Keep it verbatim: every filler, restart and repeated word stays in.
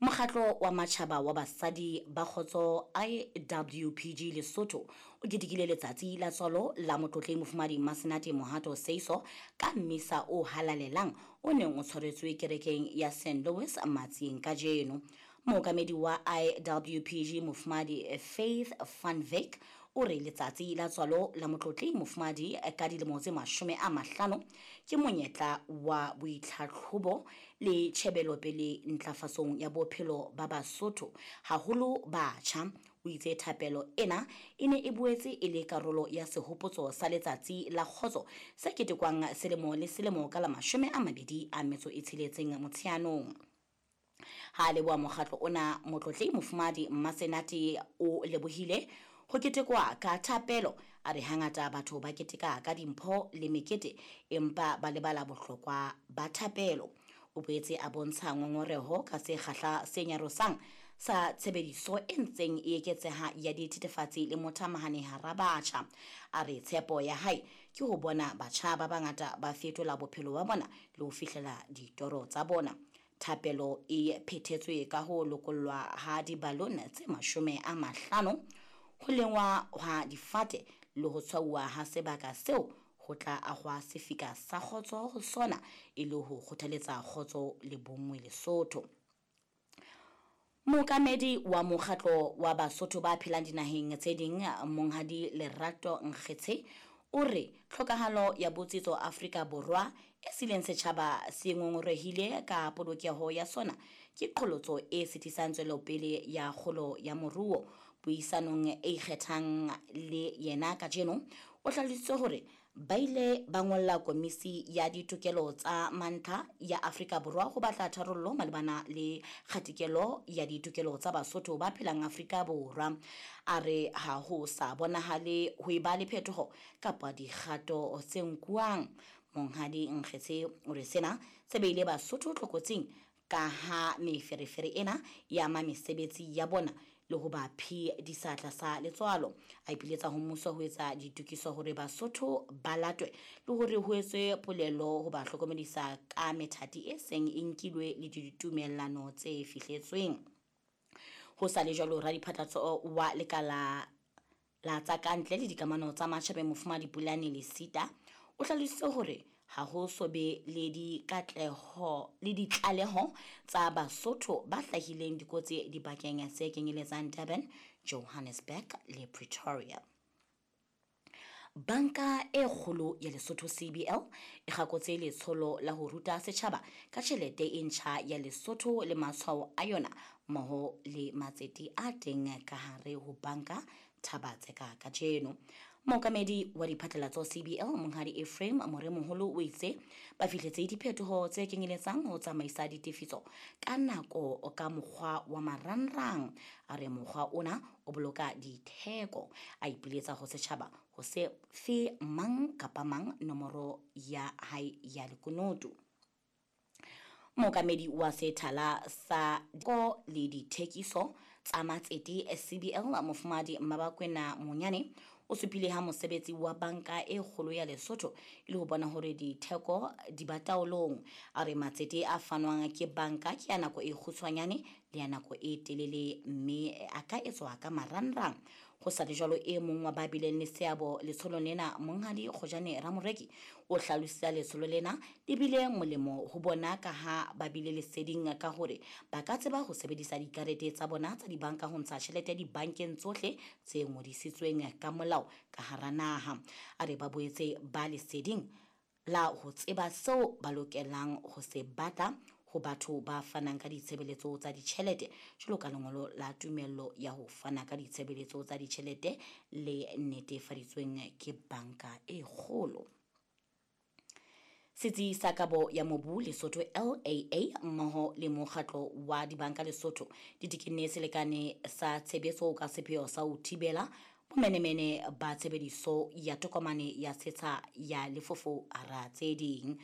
Mokgatlo wa Matjhaba wa Basadi ba Kgotso I W P G Lesotho o ketekile letsatsi la tswalo la Motlotleng Mofumahadi Masenate Mohato Seiso ka mmisa o halalelang o neng o tshwaretswe kerekeng ya Saint Louis Matsieng kajeno. Mookamedi wa I W P G Mofumahadi Faith Van Wyk o re letsatsi la tswalo la Motlotleng Mofumahadi ka dilemo tse mashome a mahlano ke monyetla wa boitlhatlhobo le tjhebelopele ntlafatsong ya bophelo ba Basotho, haholo batjha. O itse thapelo ena e ne e boetse e le karolo ya sehopotso sa letsatsi la kgotso se ketekwang selemo le selemo ka la mashome a mabedi a metso e tsheletseng Motsheanong. Ha leboha mokgatlo ona, Motlotleng Mofumahadi Masenate o lebohile ho ketekwa ka thapelo. A re hangata batho ba keteka ka dimpho le mekete empa ba lebala bohlokwa ba thapelo. O boetse a bontsha ngongoreho ka sekgahla se nyarosang sa tshebediso e ntseng e eketseha ya dithethefatsi le mothamahane hara batjha. A re tshepo ya hae ke ho bona batjha ba bangata ba fetola bophelo ba bona le ho fihlela ditoro tsa bona. Thapelo e phethetswe ka ho lokollwa ha dibalone tse mashome a mahlano, ho lengwa ha difate le ho tshwauwa ha sebaka seo ho tla ahwa sefika sa kgotso ho sona e le ho kgothaletsa kgotso le bonngwe Lesotho. Mookamedi wa mokgatlo wa Basotho ba phelang dinaheng tse ding, Monghadi Lerato Nkgetshe, o re tlhokahalo ya botsitso Afrika Borwa e sileng setjhaba se ngongorehile ka polokeho ya sona ke qholotso e sitisang tswelopele ya kgolo ya moruo. Puisanong e ikgethang le yena kajeno, o hlalositse hore ba ile ba ngolla Komisi ya Ditokelo tsa Mantlha ya Afrika Borwa ho batla tharollo malebana le kgatikelo ya ditokelo tsa Basotho ba phelang Afrika Borwa. A re ha ho sa bonahale ho eba le phetoho kapa dikgato tse nkuwang. Monghadi Nkgetshe o re sena se beile Basotho tlokotsing ka ha meferefere ena e ama mesebetsi ya bona le ho ba phedisa tlasa letswalo. A ipiletsa ho mmuso ho etsa ditokiso hore Basotho ba latwe le hore ho etswe polelo ho ba hlokomedisa ka methati e seng e nkilwe le ditumellano tse fihletsweng. Ho sa le jwalo, radiphatlatso wa lekala la tsa kantle le dikamano tsa matjhabeng Mofumahadi Pulane Lesita o hlalositse hore ha ho so be le dikatleho le ditlaleho tsa Basotho ba hlahileng dikotsi dibakeng tse kenyeletsang Durban, Johannesburg le Pretoria. Banka e kgolo ya Lesotho C B L e kgakotse letsholo la ho ruta setjhaba ka tjhelete e ntjha ya Lesotho le matshwao a yona mmoho le matsete a teng ka hare ho banka Thabatseka kajeno. Mookamedi wa diphatlalatso C B L Monghadi Ephraim Moremoholo o itse ba fihletse diphetoho tse kenyeletsang ho tsamaisa ditefiso ka nako ka mokgwa wa marangrang. A re mokgwa ona o boloka ditheko. A ipiletsa ho setjhaba ho se fe mang kapa mang nomoro ya hae ya lekunutu. Mookamedi wa sethala sa ko le dithekiso tsa matsete C B L Mofumahadi Mmabakwena Monyane o supile ha mosebetsi wa banka e kgolo ya Lesotho e le ho bona hore ditheko di ba taolong. A re matsete a fanwang ke banka ke ya nako e kgutshwanyane le ya nako e telele mme a ka etswa ka marangrang. Ho sa le jwalo, e mong wa ba bileng le seabo letsholong lena, Monghadi Kgojane Ramoreki, o hlalositse letsholo lena le bile molemo ho bona ka ha ba bile leseding ka hore ba ka tseba ho sebedisa dikarete tsa bona tsa dibanka ho ntsha tjhelete dibankeng tsohle tse ngodisitsweng ka molao ka hara naha. A re ba boetse ba leseding la ho tseba seo ba lokelang ho se batla ho batho ba fanang ka ditshebeletso tsa ditjhelete jwalo ka lengolo la tumello ya ho fana ka ditshebeletso tsa ditjhelete le netefaditsweng ke banka e kgolo. Setsi sa kabo ya mobu Lesotho L A A mmoho le mokgatlo wa dibanka Lesotho di tekenne selekane sa tshebetso ka sepheo sa ho thibela bomenemene ba tshebediso ya tokomane ya setsha ya lefofo hara tse ding.